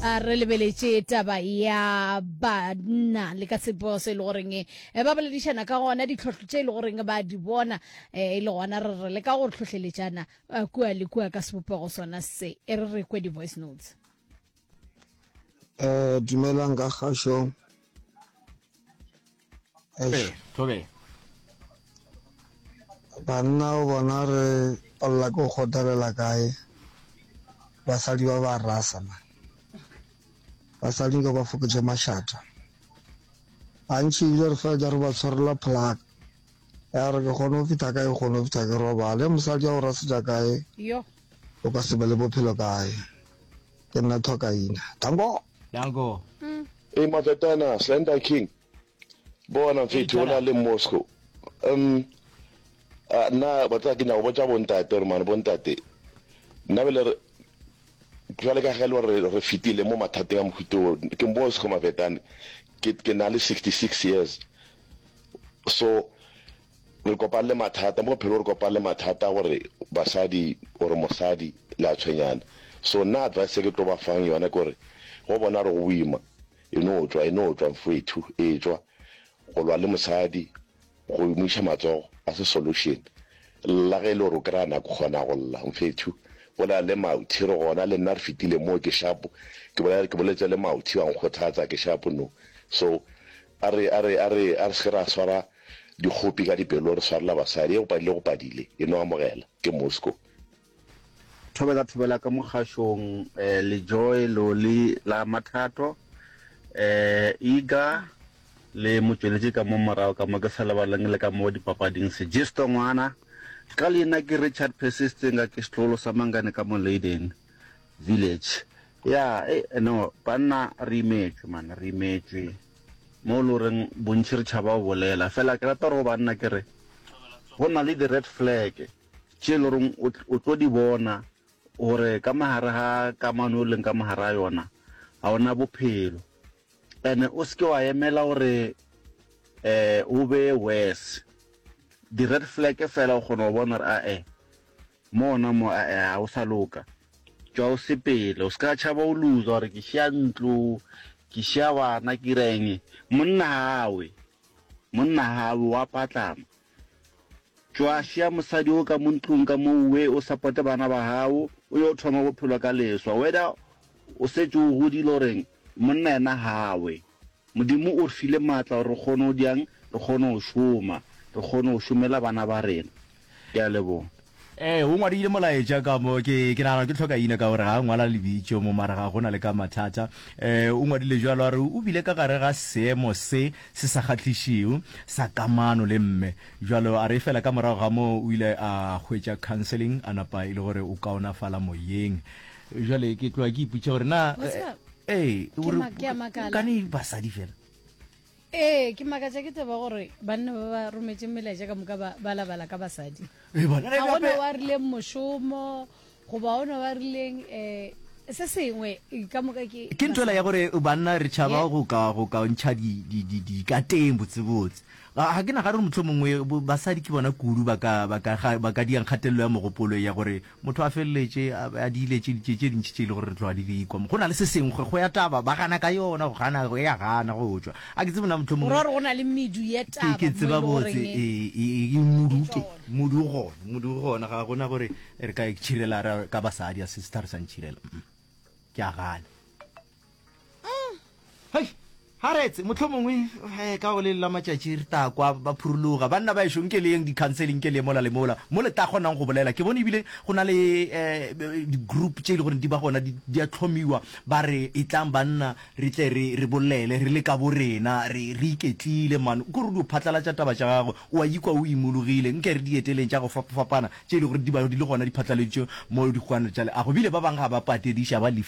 A re lebeletše taba ya banna le ka sebopego se e le goreng eh, ba boledišana ka gona ditlhohlo tše e le goreng ba di bona eh, e le gona re re le ka go hlohleletšana eh, kua le kua ka sebopego sona se. E re re kwe di-voice notes. Eh, dumelang ka kgašo. Eish. Thobela. Banna o bona re palela ke go kgothalela kae basadi ba ba rasa man. Basadi nka ba fokotše mašata. Gantši ebile re feletša re ba tshwarela plug. Ya re ke kgone go fihla kae, ke kgone go fihla ke robale. Mosadi a go rasetša kae, Yo. o ka se be le bophelo kae. Ke nna Thokaina. Danko! Danko. Hey Mafetana, Slender King. Bona mfethu o na le Moscow. Um nna ba tsaya ke nyaka go botša bontate gore mane bontate nna bele re jwale ka ge le gore re fetile mo mathateng a mohuta o ke Moscow Mafetane ke ke na le 66 years so re kopane le mathata mo bophelong re kopane le mathata gore basadi gore mosadi le a tshwenyana so nna advice e ke tlo ba fang yona ke gore go bona re go boima e no tšwa e no tšwa mfwethu e tšwa go lwa le mosadi go mo iša matsogo a se solution lla ge e le gore o kry-a nako kgona go lla mfethu bolela le mauthi re gona le nna re fetile mo ke shapo ke bolela ke boletse le mauthi wa nkgothatsa ke shapo no so a re a re a re a re se ke ra swara Dikgopi ka dipelo re swarela basadi, e go padile go padile, e no amogela. Ke Moscow. Thobela thobela ka mo kgašong Lejoe Loli la Mathato Iga le motšweletši ka mo morago ka mo ke sa lebaleng le ka mo dipapading Sejisto ngwana ka leina ke Richard Persistinga ke setlogolo sa Mangane ka mo Leyden Village ya eh no banna re imetšwe man re imetšwe Mo e le goreng bontši re tšhaba go bolela. Fela ke rata gore go banna ke re, go na le di-red flag tše e le goreng o tlo di bona gore ka mogare ga kamano o leng ka mogare ga yona ga o na bophelo. And-e o se ke wa emela gore um o be worse. Di-red flag fela o kgona go bona gore ae Mo gona mo, a-e, ga o sa loka. Tšwa o sepele. O se ka tšhaba o loser gore ke šia ntlo, ke šia bana, ke dira eng. Monna ga a we. Monna ga a we, o a patlama. Tšwa šia mosadi o ka mo ntlong ka mo we, o supporte bana ba gago, o yo thoma bophelo ka leswa. Whether o setše o godile or eng, monna yena ga a we. Modimo o re file maatla gore re kgone go diang? Re kgone go šoma, re kgone go šomela bana ba rena. Ke a leboga. Ee, o ngwadile molaetša ka mo, ke, ke nagana ke tlhoka ina ka gore ga a ngwala lebitšo mo, mara ga go na le ka mathata. Eh, o ngwadile bjalo a re o bile ka gare ga seemo se se sa kgahlišego sa kamano le mme. Bjalo a re efela ka morago ga moo o ile a hwetša counseling a napa e le gore o kaonafala moyeng. Jwale ke tloga ke ipotša gore na Wa tseba, ee ke gore ma- ke a makala. kane basadi fela. Ee, ke makatša ke taba gore banna ba ba rometše melaetša ka moka ba ba labala ka basadi. Ee, bona Ga gona gape wa rileng mošomo goba ona wa rileng um se sengwe eh, ka moka ke ke ntho ela ya basadi. gore banna re tšhaba Yeah. go ka go ka ntšha di di di di ka teng botsebotse. Ga ga ke nagane gore mohlomongwe bo- basadi ke bona kudu ba ka ba ka ga- ba ka diang kgatelelo ya mogopolo ya gore Motho a feleletše a diile tše tše tše dintši tše e le gore re tloga di di kwa. Go na le se sengwe, go ya taba, ba gana ka yona, go gana, e a gana go tšwa. A ke tsebe na Go ra mohlomongwe gore go na le medu ya ke taba ke mo e tseba le botse, goreng e e e modu e ke tšwa gona. modu o gona, modu o gona, ga gona gore re ka itšhirela ra ka basadi, a se sehlare sa ntšhirela. Ke a gana. Hei, ga retse, mohlomongwe eh, ka go le la matšatši re tla kwa ba phurologa. Banna ba ešo, nke le yeng di-counseling, nke le ye mola le mola, mo le tla kgonang go bolela. Ke bone ebile go na le eh, di-group tše e le gore di ba gona, di, di a tlhomiwa, ba re etlang banna re tle re, re bolele re le ka bo rena, re, re iketlile man. Ke gore o dio phatlalatša taba tša gago, o a ikwa o imologile. Nke re di eteleng tša go fapafapana tše e le gore di ba di le gona di phatlaladitšwe mo dikgokwana tša leago. Ebile ba bangwe ga ba patediša, ba lefiša.